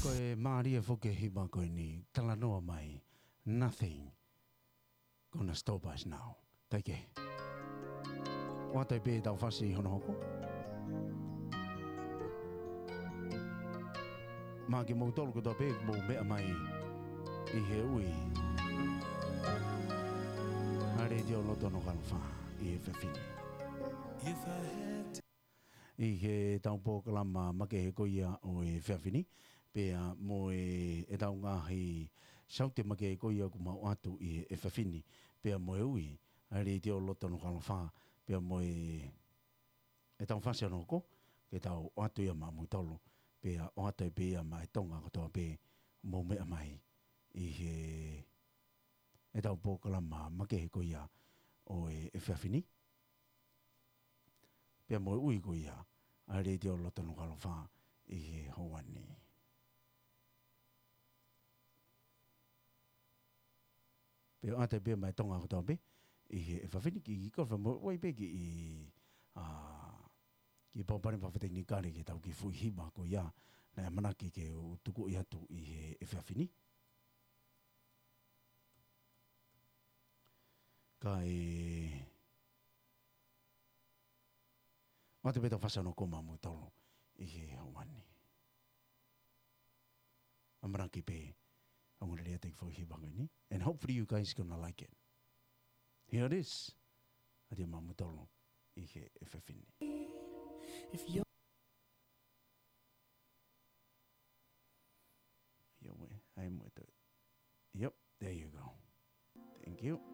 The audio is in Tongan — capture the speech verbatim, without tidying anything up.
Ko e mālie foki e hiva ko eni, talanoa mai, nothing gonna stop us now. Kae kehe, ʻoatu ai pē ʻetau fasi hono hoko. Maʻa kimoutolu kotoa pē ʻoku mou meʻa mai ʻi he ui ʻa e Letiō Loto Nukuʻalofa ʻi he efiafi ni. If I had ʻI heʻetau polokalama makehe ko ia ʻo e efiafi ni, pea mo e, ʻetau ngaahi saute makehe ko ia ʻoku mau ʻoatu ʻi he efiafi ni, pea mo e ui ʻa e Letiō Loto Nukuʻalofa, pea mo e, ʻetau fasi hono hoko, ke tau ʻoatu ia maʻamoutolu, pea ʻoatu ai pē ia maʻa e Tonga kotoa pē ʻoku mou meʻa mai ʻi heʻetau polokalama makehe ko ia ʻo e efiafi ni, pea mo e ui ko ia ʻa e Letiō Loto Nukuʻalofa ʻi he houa ni. Pea ʻoatu ai pē ia maʻa e Tonga kotoa pē ʻi he efiafi ni, kiʻi koloa mo e ui pē kiʻi, ʻa, kiʻi pōpale fakatekinikale ki heʻetau kiʻi foʻi hiva ko ia naʻe ʻamanaki ke u tukuʻi atu ʻi he efiafi ni. Kae ʻoatu pē ʻetau fasi hono hoko maʻamoutolu ʻi he houa ni. ʻAmanaki pē ʻoku ngali ʻa e kiʻi foʻi hiva ko eni. And hopefully you guys gonna like it. Here it is. ʻOatu ia maʻamoutolu ʻi he efiafi ni. If you're Yo, we, ai mo e toe. Yep, there you go. Thank you.